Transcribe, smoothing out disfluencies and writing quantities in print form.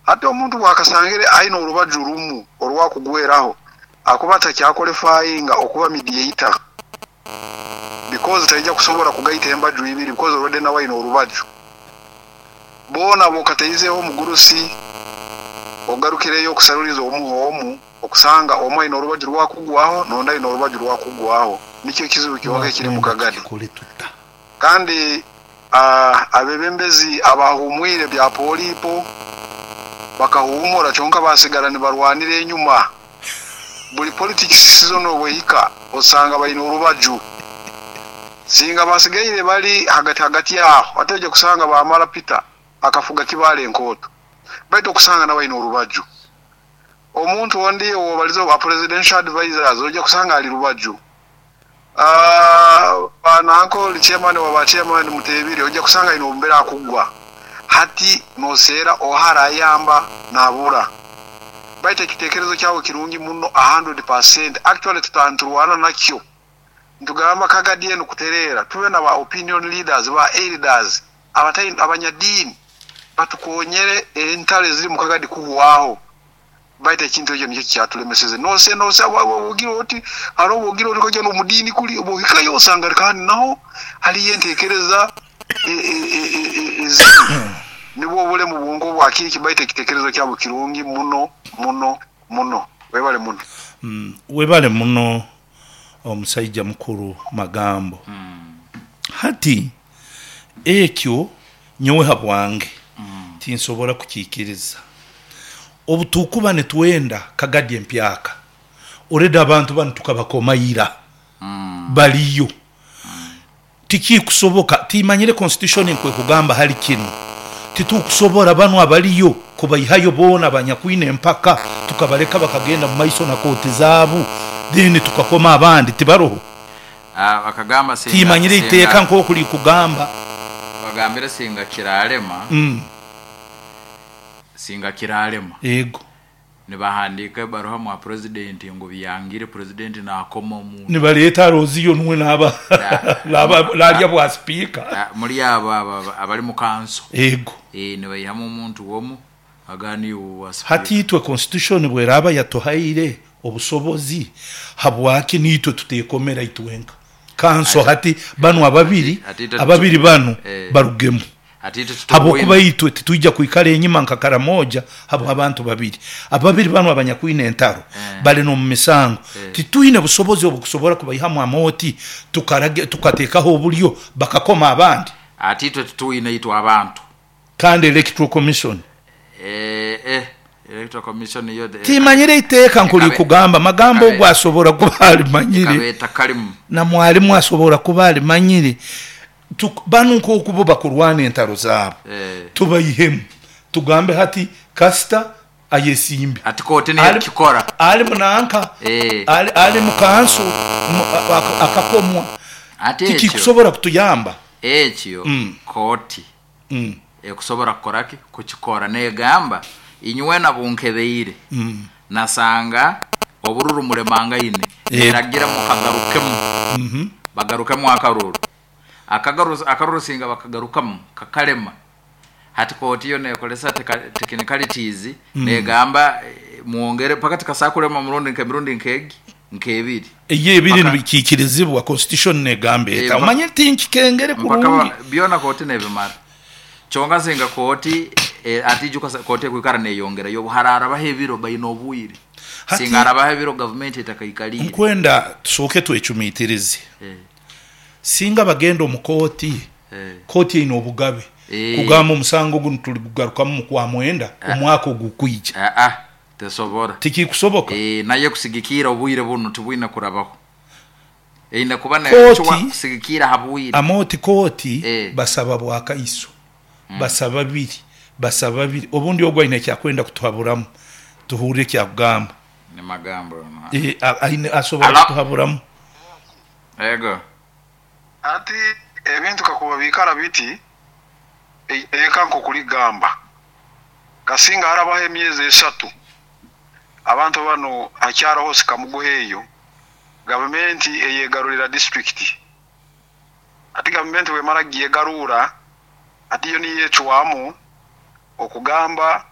Hati omuntu bwakasangire aine orubaju rumu orwakugweraho, akuba takyaqualifyinga okuba mediator because taija kusobora kugaita embaju ibiri because already nawe aine orubaju. Boona bokataizeho omugurusi ogarukireyo okusaruliza omuho omu, okusanga omu aine orubaju rwakugwaho n'ondi aine orubaju rwakugwaho. Nikyo ekizibu kyonka ekiri mu Wakwenda Kagadi. Tukikole tuta? Kandi abebembezi abahumwire bya polipo bakahumura, kyonka basigara nibarwanira enyuma. Buli politics season obwehika osanga baine orubaju. Singa basigaire bali hagati hagati aho, ate ojja kusanga bamara Peter akafuga Kibaale Enkooto, baitu okusanga nawe aine orubaju. Omuntu ondi owobalize ba presidential advisors, ojja kusanga ali rubaju. Bananko oli chairman wa ba chairman Mutebire, ojja kusanga aine obumbere akugwa. Hati noseera oha arayamba nabura. Baitu ekitekerezo kyawe kirungi muno 100%. Actually tutanturwana nakyo, ntugamba Kagadi enu kutereera, tube na ba opinion leaders, ba elders, abanyadiini batukonyere entaro eziri mu Kagadi kuhwaho. Baitu ekintu ekyo nikyo kyatulemeseze. Nose nose ogira oti hariho ogira oti kojja n'omudiini kuli, obuhikayo osanga kandi naho haliyo entekereza ezibi. Nibwo obulemu bwonka obwakiiki, baitu ekitekerezo kyabo kirungi muno muno muno. Webale muno. Webale muno omusaija mukuru Magambo. Hati ekyo nyowe habwange tinsobora kukiikiriza. Obu tukuba nitwenda Kagadi empyaka, already abantu banu tukabakoma ira, baliyo. Tikikusoboka, timanyire constitution nkwekugamba hali kinu. Titukusobora banu abaliyo kubaihayo boona abanyakwine empaka tukabaleka bakagenda mu maiso na kooti zaabu, then tukakoma abandi tibaroho. Ah, bakagamba singa Timanyire iteeka singa nk'oku likugamba. Bagambire singa kiralema. Singa kiralema. Ego. Nibahandiika ebaruha mwa president ngu byangire, president nakoma omuntu. Nibaleta Roziyo nuwe naba nalya bwa sipiika. Muri abo abo abari mu kanso. Ego. Nibaihamu omuntu omu agana iwe wa Hati sipiika. Itwe constitution bweraba yatuhaire obusobozi, habwaki nitwe tutekomera itwenka kanso? Hati banu ababiri ababiri banu barugemu. Ati itwe Habwokuba titubuine. Itwe titwija kwikara enyima nka Karamoja habw'abantu babiri. Ababiri banu abanyakwine entaro bali n'omu misango. Titwine busobozi obukusobora kubaihamu amooti tukarage tukateekaho obulyo bakakoma abandi. Ati itwe tituine itwe abantu. Kandi Electoral Commission. Eh eh Electoral Commission yo Timanyire iteeka nkulikugamba, Magambo ogu asobora kuba alimanyire. Ekaba etakalimu. Na mwalimu asobora kuba alimanyire. Banu nk'oku bo bakurwana entaro zaabo, tubaihemu tugambe hati kasita ayesimbe. Ati kooti niyo ekukikora. Ali munanka, ali mu kanso akakomwa. Ati ekyo. Tikikusobora kutuyamba. Ekyo kooti ekusobora kukora ki? Kukikora. Negamba inywena bunkebeire nasanga obururu mulemangaine, neragira mukagarukemu, bagarukemu akaruru. Akaruru singa bakagarukamu kakalema, hati kooti yo nekoresa technicalities, negamba mwongere paka tikasobola kulema murundi nk'emirundi nk'egi nk'ebiri. Eyo ebiri Mpaka nibikiikirizibwa constitution negamba eta? Omanye tinkikengere Mpaka kurungi. Byona kooti nebimara. Kyonka singa kooti ati ijuka kooti ekwikara neyongerayo obu hararabaho ebiro baine obwire. Hati Singa harabaho ebiro gavumenti etakaikaliire. Nkwenda tusooke twecumitirize. Singa bagenda omu kooti, kooti eine obugabe kugamba omusango gunu tuligugarukamu mu Kwamwenda omwaka ogukwija. Aa, tesobora. Tikikusoboka. Nayo ekusigikiira obwire bunu tibwine kurabaho. Eine kuba necwa Kooti, kusigikiira ha bwire. Amooti kooti basaba bwakaiso, basaba biri, basaba biri. Obundi ogu aine ekyakwenda kutuhaburamu, tuhurre ekyakugamba. Ni magambo ono. Aine asobora Halo? kutuhaburamu. Ego. Hati ebintu kakuba biikara biti, eiteeka nk'oku ligamba, kasinga harabaho emyezi 3 abantu banu hakyaraho sikamuguha eyo, gavumenti eyegarurira disiturikiti. Hati gavumenti bwemara kugyegarura, hati yo niyo ecwamu okugamba.